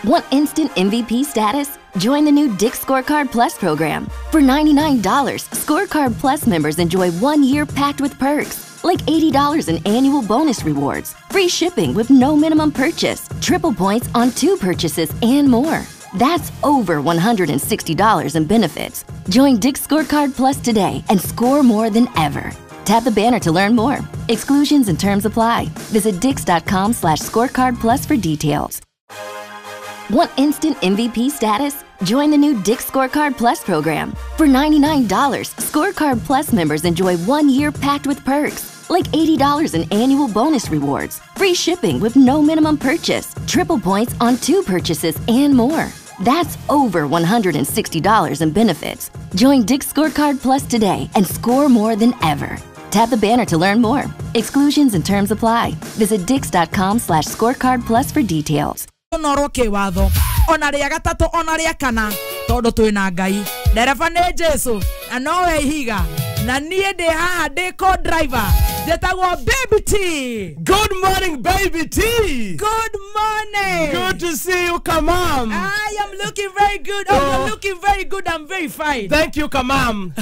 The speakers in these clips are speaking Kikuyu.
Want instant MVP status? Join the new Dick's Scorecard Plus program. For $99, Scorecard Plus members enjoy 1 year packed with perks, like $80 in annual bonus rewards, free shipping with no minimum purchase, triple points on two purchases, and more. That's over $160 in benefits. Join Dick's Scorecard Plus today and score more than ever. Tap the banner to learn more. Exclusions and terms apply. Visit dix.com/scorecard plus for details. Want instant MVP status? Join the new Dick's Scorecard Plus program. For $99, Scorecard Plus members enjoy 1 year packed with perks, like $80 in annual bonus rewards, free shipping with no minimum purchase, triple points on two purchases, and more. That's over $160 in benefits. Join Dick's Scorecard Plus today and score more than ever. Tap the banner to learn more. Exclusions and terms apply. Visit dix.com/scorecard plus for details. Norwo kĩwatho ona rĩa gatatũ ona rĩa kana tondũ twĩna Ngai, ndereba nĩ Jesu na nowe ihiga na niĩ ndĩ haha ndĩ co-driver, njĩtagwo Baby T. Good morning, Baby T. Good morning. Good to see you, Kamam. I am looking very good. Oh, you're looking very good. I'm very fine. Thank you, Kamam.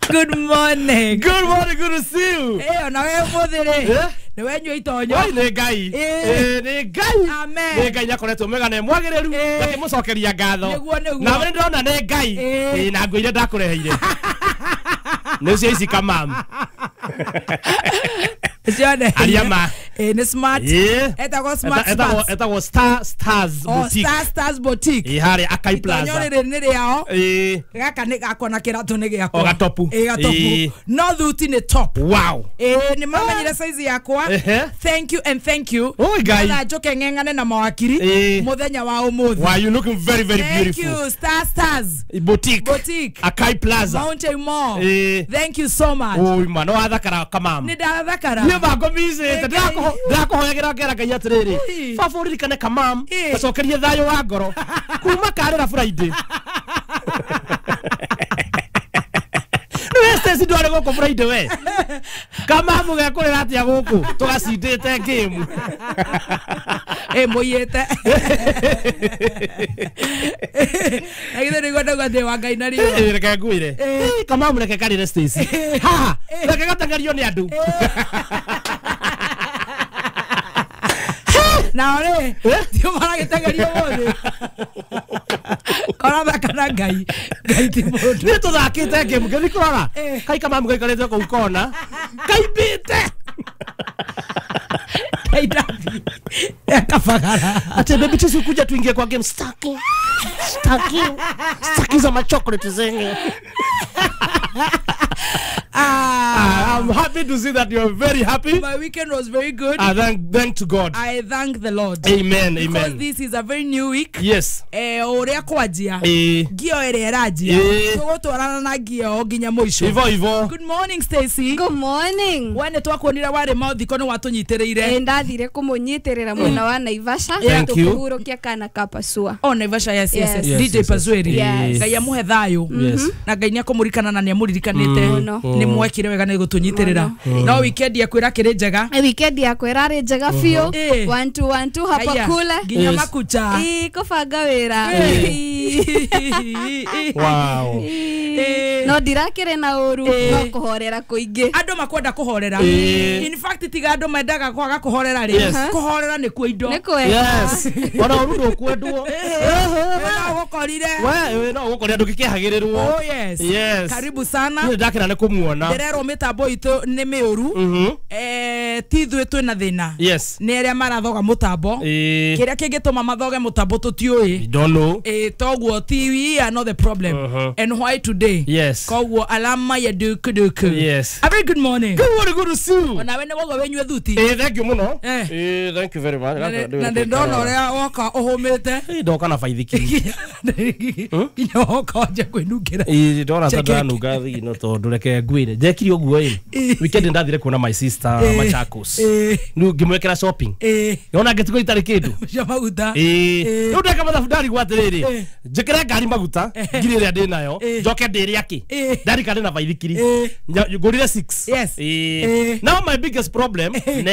Good morning. Good morning, good to see you. Eh, ona we ũmũthĩ rĩ Eh? nĩ wenyua itonyo. Oi, nĩ Ngai. Eh. Eh, nĩ Ngai. Amen. Nĩ Ngai nĩakoretwo mwega na mwagĩrĩru. Eh. Ngakĩmũcokeria ngatho. Nĩguo, nĩguo. Na nĩ ndĩrona nĩ Ngai. Eh. Eh, na ngũ iria ndakũreheire. Nĩ cio ici, Kamam. Cione. Aria ma. Eh, nĩ smart. Eh. Etagwo Smart Etagwo Stars. Etagwo Star Stars Oh, Boutique. Star Stars Boutique. Eh, harĩa Akai Itonyo Plaza. rĩrĩ nĩ rĩao. Eh. Gaka nĩ gakwa na kĩratũ nĩ gĩakwa. O gatopu. Ĩ, gatopu. Ĩ. No thuti nĩ top. Wow. Ĩ, nĩ mamenyire size yakwa. Ehe. Thank you and thank you. Oi, Ngai. Na njũke ng'eng'ane na mawakiri Ĩ. mũthenya wa ũmũthĩ. Wow, you looking very, very Thank beautiful. you, Star Stars Boutique. Boutique. Akai Plaza. Mountain Mall. Ĩ. Thank you so much. Oi, ma no wathakara, Kamam. Nĩ ndathakara. Niĩ bangomicĩte. Ngai. Ndĩrakũhoyagĩra ngera Ngai atĩrĩrĩ, Ĩ. baba ũririkane Kamam, Ĩ. gacokerie thayũ wa ngoro kuma karĩra Friday. Nĩwe Stacy ndwarĩ gũkũ Friday, we Kamam gekũrĩra atĩa gũkũ tũgacindĩte game? Ĩ, mũiyĩte na githĩ nĩguo ndauga ndĩ wa Ngai na riũa. Ĩ, reke ngwĩre. Ĩ. Ĩ, Kamam, reke karĩre Stacy haha, reke gateng'erio nĩ andũ. Nao rĩ Eh? tio maragĩteng'erio ũmũthĩ korathaka na Ngai, Ngai ti mũndũ. Nĩ tũthakĩte game, ngĩthiĩ kũrora Ĩ. kai Kamam gaikarĩte kũu kona kaimbĩte. Ngai ndathi akabagara. Ate Baby Tisi, kuja tuingie kwa game. Staki. Staki. Staki za machocolate zenye. Ah, I'm happy to see that you're very happy. My weekend was very good. Thank to God. I thank the Lord. Amen, because amen. this is a very new week. Yes. Eh, ũrĩa kwanjia Eh, ngio ĩrĩa ĩranjia Eh. tũgũtwarana na ngio nginya mũico. Ivo ivo. Good morning, Stacy. Good morning. We nĩ twakuonire warĩ mathiko, nĩ watũnyitĩrĩire. Ĩ, ndathire kũmũnyitĩrĩra mwena wa Naivasha. Thank you. Tũkĩhurũkia kana ka Pasua. Oh, Naivasha, yes. Yes. Yes, DJ yes, yes. Pazweri. Yes. Ngai amũhe thayũ. Yes. Na Ngai nĩ akũmũririkana na nĩ amũririkanĩte. Mũno. Nĩ mwekire wega nĩ gũtũnyitĩrĩra, no weekend yaku ĩrakĩrĩ njega? Ĩ, weekend yakwa ĩrarĩ njega biũ. Ĩ. One two one two hapa Aya, kule. nginya Yes. makucha. Ĩ, kũbanga wĩra. Ĩ. Wow. Ĩ. No ndirakĩrĩ na ũru, Ĩ. no kũhorera kũingĩ. Andå makwenda kũhorera. Ĩ. In fact, tiga andå mendaga kwaga kũhorera rĩ, Yes. kũhorera nĩ kuo indo. Nĩ kwega. Yes. Ona ũru ndũkwendwo. No gũkorire. We no gũkorĩa ndũngĩkĩhagĩrĩrwo. Oh yes. Yes. Karibu sana. Niĩ ndakena nĩ kũmuona. Ndĩrerwo mĩtambo itũ nĩ mĩũru. Eh, ti ithuĩ twĩna thĩna, Yes. nĩ arĩa marathoga mũtambo. Eh, Kĩrĩa kĩngĩtũma mathoge mũtambo tũtiũĩ. you don't know. Ĩ, toguo ti we are not the problem. And why today? Yes. Koguo alama ya dukuduku. Yes. A very good morning. Good morning, good to see you. Onawe nĩ woga wĩnyue thuti. Eh, thank you mũno. Eh. Eh, thank you very much. Na ndĩ ndona ũrĩa woka ũhũmĩte. Eh, ndoka na baithikiri. Nginya woka wanja kwĩnungĩra. Ĩ, ndona ta Chekeke. ndanunga thigino tondũ reke ngwĩre njekire ũguo ĩ weekend ndathire kuona my sister Eh. Machakos, Eh. rĩu ngĩmwĩkĩra shopping, Ĩ, yona ngĩtigwo itarĩ kĩndũ. cia maguta. Ĩ, Eh. rĩu ndeka mathabu ndarigwo atĩrĩrĩ, Eh. njĩkĩre ngari maguta ngiri ĩrĩa ndĩ nayo, Eh. njoke ndĩrĩ akĩ Eh. ndarika ndĩ na baithikiri. Eh. Ngũrire 6. Yes. Eh. Now my biggest problem.